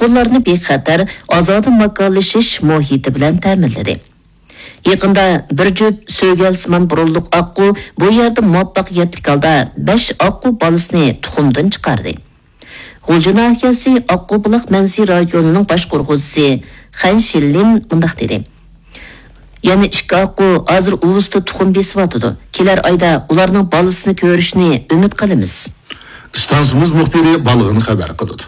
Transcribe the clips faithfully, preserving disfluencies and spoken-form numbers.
ئۇلارنى بىخەتەر، ئازادە ماكانلىشىش مۇھىتى بىلەن تەمىنلىدى. يېقىندا بىر جۈپ سۆگەلسىمان بۇرۇنلۇق ئاققۇ بۇ يەردە مۇۋەپپەقىيەتلىك ھالدا بەش ئاققۇ بالىسىنى تۇخۇمدىن چىقاردى. غۇلجا ناھىيەسى ئاققۇبۇلاق مەنزىرە رايونىنىڭ باشقۇرغۇچىسى خەن شىنلىن مۇنداق دېدى: يەنە ئىككى ئاققۇ ھازىر ئۇۋىسىدا تۇخۇم بېسىۋاتىدۇ. كېلەر ئايدا ئۇلارنىڭ بالىسىنى كۆرۈشنى ئۈمىد قىلىمىز. ئىستانسىمىز مۇخبىرى بالغىنى خەۋەر قىلىدۇ.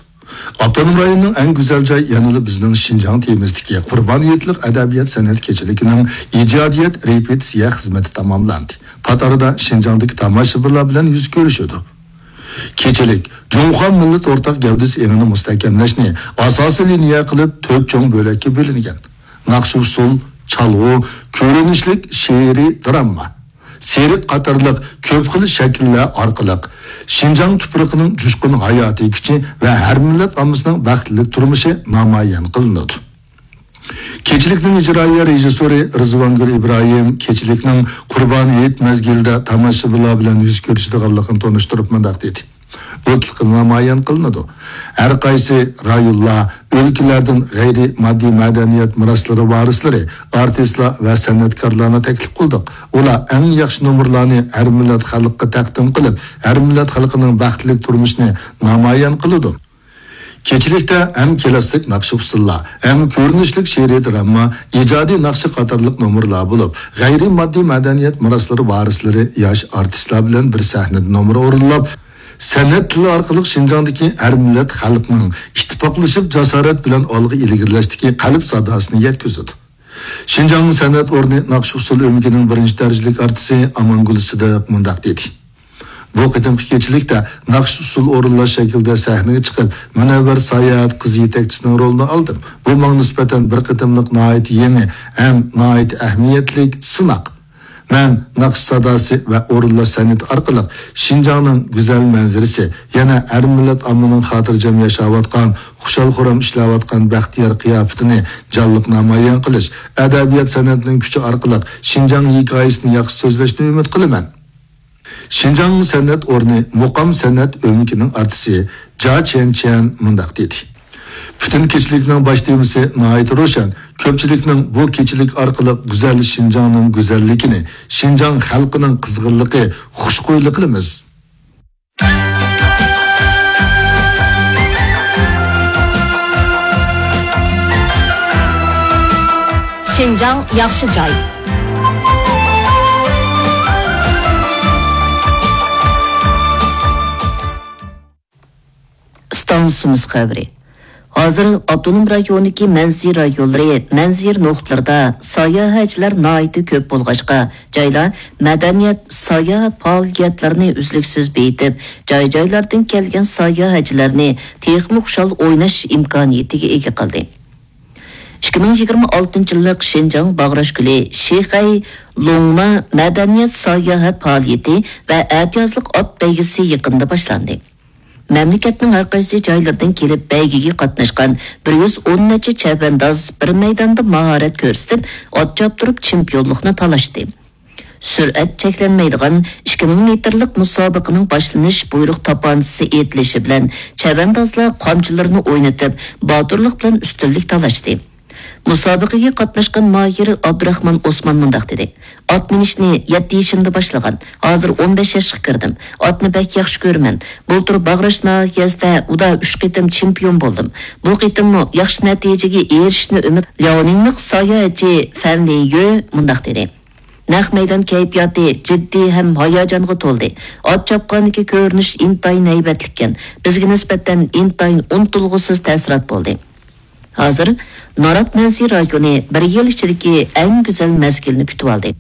ئاپتونوم رايوننىڭ ئەڭ گۈزەل جاي يەنىلا بىزنىڭ شىنجاڭ تېمىسىدىكى قۇربان ھېيتلىق ئەدەبىيات سەنئەت كېچىلىكىنىڭ ئىجادىيەت رېپېتىتسىيە خىزمىتى تاماملاندى. پات ئارىدا شىنجاڭدىكى تاماشىبىنلار بىلەن يۈز كۆرۈشىدۇ. كېچىلىك جۇڭخۇا مىللەت ئورتاق گەۋدىسى ئېڭىنى مۇستەھكەملەشنى ئاساسىي لىنىيە قىلىپ تۆت چوڭ بۆلەككە بۆلۈنگەن. ناخشا-ئۇسسۇل، چالغۇ، كۆرۈنۈشلۈك شېئىرىي دىراما، سېرك قاتارلىق كۆپ خىل شەكىللەر ئارقىلىق شىنجاڭ تۇپرىقىنىڭ جۇشقۇن ھاياتىي كۈچى ۋە ھەر مىللەت ئاممىسىنىڭ بەختلىك تۇرمۇشى نامايان قىلىنىدۇ. كېچىلىكنىڭ ئىجرائىيە رېژىسسورى رىزۋانگۈل ئىبراھىم كېچىلىكنىڭ قۇربان ھېيت مەزگىلىدە تاماشىبىنلار بىلەن يۈز كۆرۈشىدىغانلىقىنى تونۇشتۇرۇپ مۇنداق دېدى: بۇ تىلغا نامايان قىلىنىدۇ. ھەر قايسى رايونلار، ئۆلكىلەردىن غەيرىي ماددىي مەدەنىيەت مىراسلىرى ۋارىسلىرى، ئارتىسلار ۋە سەنئەتكارلارنى تەكلىپ قىلدۇق. ئۇلار ئەڭ ياخشى نومۇرلارنى ھەر مىللەت خەلققە تەقدىم قىلىپ، ھەر مىللەت خەلقىنىڭ بەختلىك تۇرمۇشىنى نامايان قىلىدۇ. كېچىلىكتە ھەم كىلاسسىك ناخشا-ئۇسسۇللار، ھەم كۆرۈنۈشلۈك شېئىرىي دىراما، ئىجادىي ناخشا قاتارلىق نومۇرلار بولۇپ، غەيرىي ماددىي مەدەنىيەت مىراسلىرى ۋارىسلىرى ياش ئارتىسلار بىلەن بىر سەھنىدە نومۇر ئورۇنلاپ، سەنئەت تىلى ئارقىلىق شىنجاڭدىكى ھەر مىللەت خەلقنىڭ ئىتتىپاقلىشىپ، جاسارەت بىلەن ئالغا ئىلگىرىلەشتىكى قەلب ساداسىنى يەتكۈزىدۇ. شىنجاڭ سەنئەت ئورنى ناخشا-ئۇسسۇل ئۆمىكىنىڭ بىرىنچى دەرىجىلىك ئارتىسى ئامانگۈل سىدىق مۇنداق دېدى: بۇ قېتىمقى كېچىلىكتە ناخشا-ئۇسسۇل ئورۇنلاش شەكلىدە سەھنىگە چىقىپ، مۇنەۋۋەر ساياھەت قىزى يېتەكچىسىنىڭ رولىنى ئالدىم. بۇ ماڭا نىسبەتەن بىر قېتىملىق ناھايىتى يېڭى ھەم ناھايىتى ئەھمىيەتلىك سىناق. مەن ناخشا ساداسى ۋە ئورۇنلاش سەنئىتى ئارقىلىق شىنجاڭنىڭ گۈزەل مەنزىرىسى، يەنە ھەر مىللەت ئاممىنىڭ خاتىرجەم ياشاۋاتقان، خۇشال-خۇرام ئىشلەۋاتقان بەختىيار قىياپىتىنى جانلىق نامايان قىلىش، ئەدەبىيات-سەنئەتنىڭ كۈچى ئارقىلىق شىنجاڭ ھېكايىسىنى ياخشى سۆزلەشنى ئۈمىد قىلىمەن. شىنجاڭ سەنئەت ئورنى مۇقام سەنئەت ئۆمىكىنىڭ ئارتىسى جا چيەنچيەن مۇنداق دېدى: پۈتۈن كېچىلىكنىڭ باش تېمىسى ناھايىتى روشەن. كۆپچىلىكنىڭ بۇ كېچىلىك ئارقىلىق گۈزەل شىنجاڭنىڭ گۈزەللىكىنى، شىنجاڭ خەلقىنىڭ قىزغىنلىقى، خۇشخۇيلۇقىنى بىلىمىز. شىنجاڭ ياخشى جاي. ئىستانسىمىز خەۋىرى. ھازىر ئاپتونوم رايوندىكى مەنزىرە رايونلىرى، مەنزىرە نۇقتىلىرىدا ساياھەتچىلەر ناھايىتى كۆپ بولغاچقا، جايلار مەدەنىيەت، ساياھەت پائالىيەتلىرىنى ئۈزلۈكسىز بېيىتىپ، جاي-جايلاردىن كەلگەن ساياھەتچىلەرنى تېخىمۇ خۇشال ئويناش ئىمكانىيىتىگە ئىگە قىلدى. ئىككى مىڭ يىگىرمە ئالتىنچى يىللىق شىنجاڭ باغراش گۈلى، شىخەي لوڭما مەدەنىيەت ساياھەت پائالىيىتى ۋە ئەتىيازلىق ئات بەيگىسى يېقىندا باشلاندى. مەملىكەتنىڭ ھەر قايسى جايلىرىدىن كېلىپ بەيگىگە قاتناشقان بىر يۈز ئون نەچچە چەۋەنداز بىر مەيداندا ماھارەت كۆرسىتىپ، ئات چاپتۇرۇپ چېمپىيونلۇقنى تالاشتى. سۈرئەت چەكلەنمەيدىغان ئىككى مىڭ مېتىرلىق مۇسابىقىنىڭ باشلىنىش بۇيرۇق تاپانچىسى ئېيتىلىشى بىلەن چەۋەندازلار قامچىلىرىنى ئوينىتىپ، باتۇرلۇق بىلەن ئۈستۈنلۈك تالاشتى. مۇسابىقىگە قاتناشقان ماھىر ئابدۇراخمان ئوسمان مۇنداق دېدى: ئات مىنىشنى يەتتە يېشىمدا باشلىغان، ھازىر ئون بەش ياشقا كىردىم. ئاتنى بەك ياخشى كۆرىمەن. بۇلتۇر باغراش ناھىيەسىدە ئۇدا ئۈچ قېتىم چېمپىيون بولدۇم. بۇ قېتىممۇ ياخشى نەتىجىگە ئېرىشىشنى ئۈمىد. لياۋنىڭلىق ساياھەتچى فەن لىن يۆ مۇنداق دېدى: نەق مەيدان كەيپىياتى جىددىي ھەم ھاياجانغا تولدى. ئات چاپقاندىكى كۆرۈنۈش ئىنتايىن ھەيۋەتلىككەن. بىزگە نىسبەتەن ئىنتايىن ئۇنتۇلغۇسىز تەسىرات بولدى. ھازىر نارات مەنزىرە رايونى بىر يىل ئىچىدىكى ئەڭ گۈزەل مەزگىلنى كۈتۈۋالدى.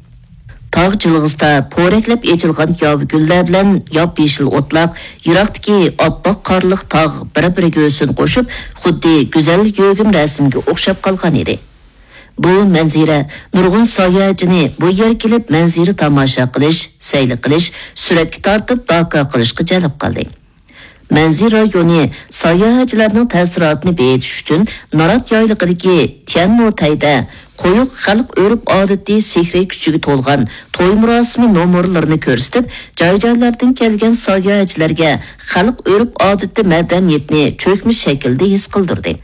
تاغ جىلغىسىدا پورەكلەپ ئېچىلغان ياۋا گۈللەر بىلەن ياپيېشىل ئوتلاق، يىراقتىكى ئاپئاق قارلىق تاغ بىر-بىرىگە ھۆسن قوشۇپ، خۇددى گۈزەل يۆگىمە رەسىمگە ئوخشاپ قالغان ئىدى. بۇ مەنزىرە نۇرغۇن ساياھەتچىنى بۇ يەرگە كېلىپ مەنزىرە تاماشا قىلىش، سەيلە قىلىش، سۈرەتكە تارتىپ داكا قىلىشقا جەلپ قىلدى. مەنزىرە رايونى ساياھەتچىلەرنىڭ تەسىراتىنى بېيىتىش ئۈچۈن نارات يايلىقىدىكى تيەنمو تەيدە قويۇق خەلق ئۆرپ-ئادىتى سېھرىي كۈچىگە تولغان توي مۇراسىمى نومۇرلىرىنى كۆرسىتىپ، جاي-جايلاردىن كەلگەن ساياھەتچىلەرگە خەلق ئۆرپ-ئادىتى مەدەنىيىتىنى چۆكمە شەكىلدە ھېس قىلدۇردى.